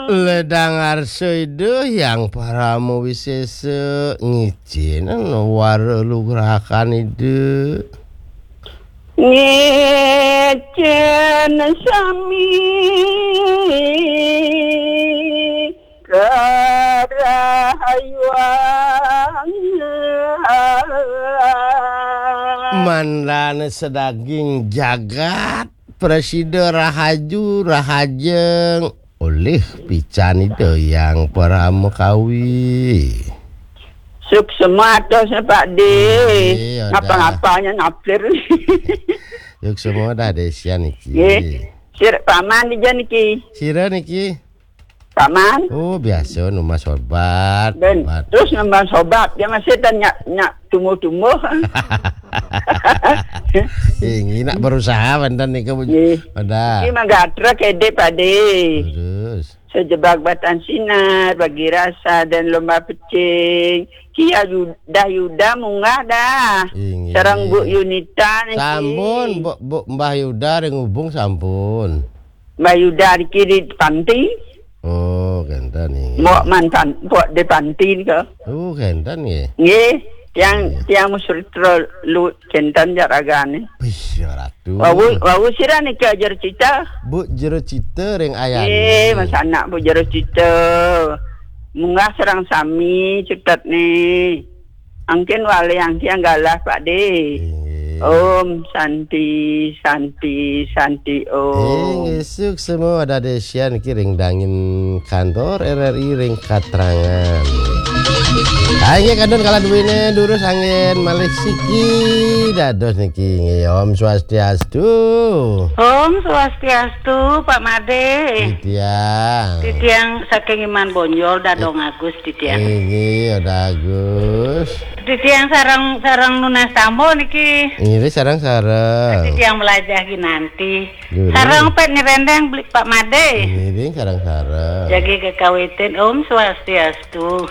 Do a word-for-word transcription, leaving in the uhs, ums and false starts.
Ledang arsa Ida Hyang Parama Wisesa, ngicén wara lugrakan Ida. Ngicén sami karahayuan. Mandan sadaging jagat, prasida rahaju, rahajeng, olih pican Ida Hyang Parama Kawi. Suksma atos, Pak De. Nggih, Odah. Ngapa-ngapanya naplir. Suksma Odah Desian niki. Nggih. Sir, paman dija niki. Sira niki. Paman. Oh, biasa numbas obat. Ben, obat. Terus numbas obat, dia masih tanya, nyak tumbuh-tumbuh. Ini nak berusaha, banten nika, Bu. Nggih. Odah. Iki mah gatra kede, Pak De. Terus. Sejebak batan sinar, bagi rasa dan lomba pecing. Kia Yuda, Yuda munggah dah. Inggih. Sareng Bu Yunita niki. Sampun, Bu, Bu, Mbah Yuda ring Ubung sampun. Mbah Yuda niki di panti. Oh, kenten inggih. Mbok man pan-, mbok di panti nika. Oh, kenten nggih. Nggih, tiang, iya, tiang Musritra lu kenten jaragane. Wih, ya Ratu. Wau, wau sira nika Jero Cita. Bu Jero Cita ring Ayani. Nggih, Mas anak Bu Jero Cita. Munggah sareng sami cutet nih. Angkin wali angki anggalah, Pak De. Inggih. Om Santi, Santi, Santi Om. Inggih, suksma Odah Desian niki ring dangin kantor R R I ring Katrangan. Ah, inggih, kantun kala duwine durus anggen malih siki dados niki. Inggih, Om Swastiastu. Om Swastiastu, Pak Made. Titiang. Titiang saking Iman Bonjol, Dadong Agus, titiang. Inggih, Odah Agus. Titiang sareng, sareng nunas tamu niki. Inggih, sareng-sareng. Titiang melajah ginanti. Nggih. Sareng pet nyerendeng beli Pak Made. Inggih, sareng-sareng. Jagi kekawitin, Om Swastiastu.